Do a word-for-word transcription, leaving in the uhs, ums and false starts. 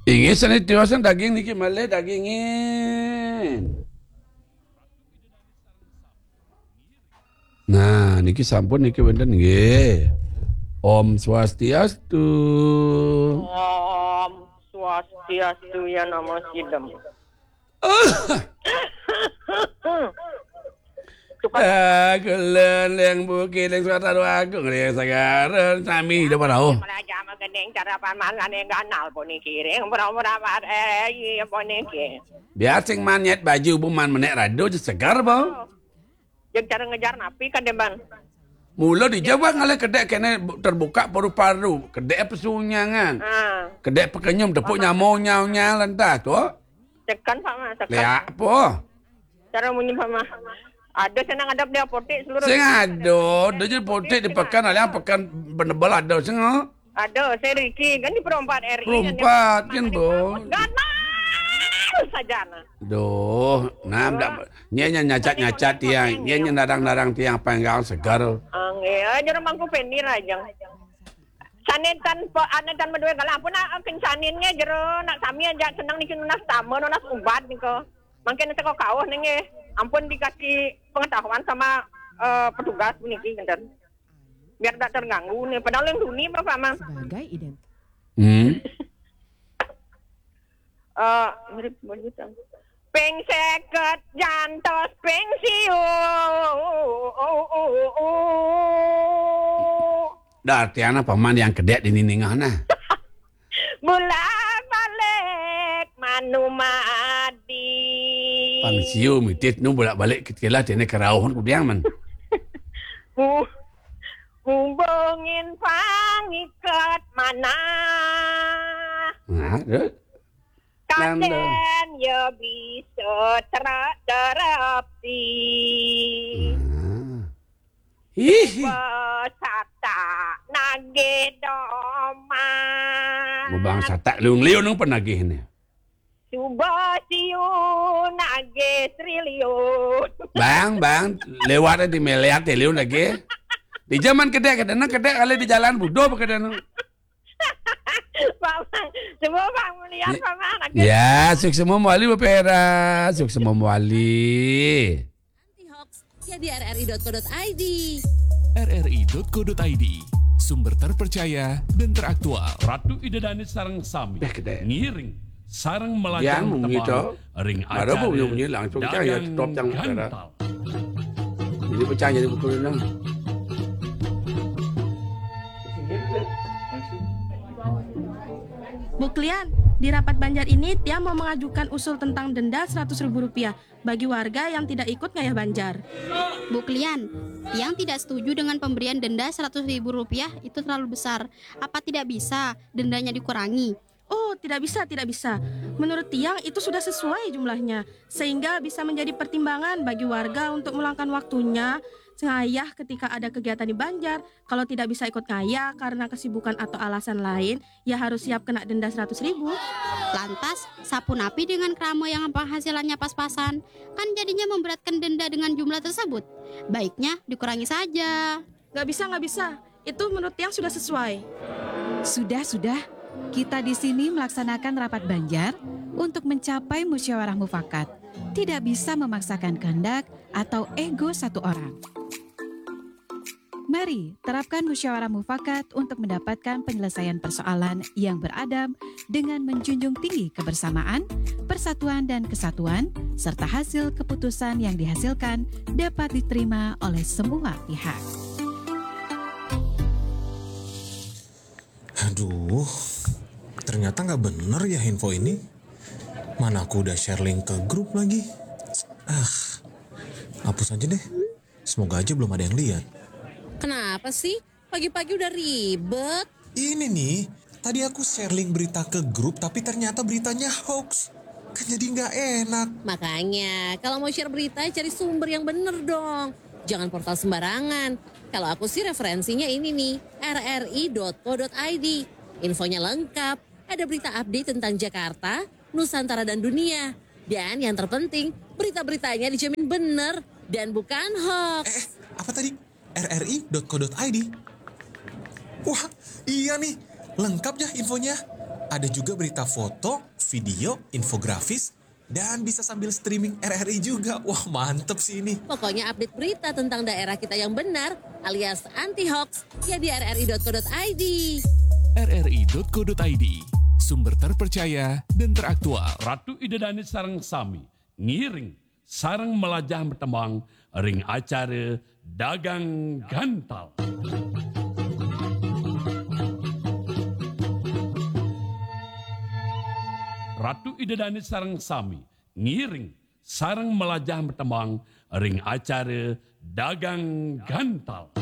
Inggih, sané tiosan daging niki malih dagingin. Nah, niki sampun niki wénten nggih. Om Swastiastu. Om Swastiastu ya nama sidem. Aku lén leng buki leng suara agung leng sagaran sami hidup rauh. Melajah menggending cara paman lane ganal puniki ring pura-pura eh iya puniki. Biar sing manyet baju buman menek rado je segar, Bang. Jeung cara ngejar napi kan, Demban? Mula di Jawa ngalih kedek kene bu-, terbuka paru-paru, kedek pesunyangan. Ah. Kedek pekenyum tepuk nyamau nyau nyau lentah tu. Tekan, Pak Mas, tekan. Liak apa? Cara munyi, Pak Mas. Ada senang ada di apotek seluruh. Sing ada, ada je apotek di pekan, ada pekan benebel ada sing. Ada, saya Ricky, kan di Perempat R I kan, Perempat kan, Bos. Ganal saja, nah. Duh, nah, ndak, nya, nya nyacat-nyacat tiang, nya, nya narang-narang tiang penggal segar. Ang, ya, jero mangku peni rajang. Sanen tan pe-, anen tan medue galah, ampun, ah, kencanin nge jero, nak sami aja senang niki nunas tama, nunas ubat niko. Mangkin seko kauh nenge. Ampun dikasih pengetahuan sama, eh, petugas puniki, ngenten. Biar tak terganggu nih. Padahal yang duni, Bapak, Mang. Sebagai ident. Hmm. Eh, mirip begitu. Ping seket jantos ping siu. Dah artiana paman yang kedek di niningah nah. Bulak balik manumadi. Pang siu mitit nu bulak balik ketilah tiene kerauhan kudiang man. Hu-, hubungin pangikat mana. Nah, terus? Kaden ya bisa tera-, terapi. Nah. Ih. Basata nage doman. Bang satak liung-liung nang penagih ni. Suba siu nage triliun. Bang, bang, lewat di melihat liung lagi. Di zaman kedek, kedek, kedek kali di jalan budo apa kedek nu? Pak Mang, semua Pak melihat, Pak Mang. Ya, sukses semua wali Bapak Era, sukses semua wali. Anti hoax ya di R R I dot co dot I D. R R I dot co dot I D, sumber terpercaya dan teraktual. Ratu Ida Dané sareng sami ngiring sareng melajah tebang ring acara Dagang Gantal. Jadi pecah jadi buku renang. Bu Klian, di rapat Banjar ini, Tia mau mengajukan usul tentang denda seratus ribu rupiah bagi warga yang tidak ikut ngayah Banjar. Bu Klian, Tiang tidak setuju dengan pemberian denda seratus ribu rupiah itu terlalu besar. Apa tidak bisa dendanya dikurangi? Oh, tidak bisa, tidak bisa. Menurut Tiang, itu sudah sesuai jumlahnya, sehingga bisa menjadi pertimbangan bagi warga untuk meluangkan waktunya ngayah ketika ada kegiatan di Banjar. Kalau tidak bisa ikut ngayah karena kesibukan atau alasan lain, ya harus siap kena denda seratus ribu. Lantas, sapunapi dengan krama yang penghasilannya pas-pasan? Kan jadinya memberatkan denda dengan jumlah tersebut. Baiknya dikurangi saja. Nggak bisa, nggak bisa. Itu menurut Tiang sudah sesuai. Sudah, sudah. Kita di sini melaksanakan rapat Banjar untuk mencapai musyawarah mufakat. Tidak bisa memaksakan kehendak atau ego satu orang. Mari terapkan musyawarah mufakat untuk mendapatkan penyelesaian persoalan yang beradab dengan menjunjung tinggi kebersamaan, persatuan dan kesatuan, serta hasil keputusan yang dihasilkan dapat diterima oleh semua pihak. Aduh, ternyata nggak bener ya info ini. Mana aku udah share link ke grup lagi. Ah, hapus aja deh. Semoga aja belum ada yang lihat. Kenapa sih? Pagi-pagi udah ribet. Ini nih, tadi aku share link berita ke grup tapi ternyata beritanya hoax. Kan jadi nggak enak. Makanya, kalau mau share berita, cari sumber yang bener dong. Jangan portal sembarangan. Kalau aku sih referensinya ini nih, R R I dot co dot I D. Infonya lengkap, ada berita update tentang Jakarta, Nusantara dan dunia. Dan yang terpenting, berita-beritanya dijamin bener dan bukan hoax. Eh, eh, apa tadi? R R I dot co dot I D. Wah, iya nih, lengkap ya infonya. Ada juga berita foto, video, infografis, dan bisa sambil streaming R R I juga. Wah, mantep sih ini. Pokoknya update berita tentang daerah kita yang benar alias anti hoax ya di rri.co.id. rri.co.id, sumber terpercaya dan teraktual. Ratu Ida Dané sareng sami ngiring sareng melajah metembang ring acara Dagang Gantal. Ratu Ida Dané sareng sami ngiring sareng melajah metembang ring acara Dagang Gantal.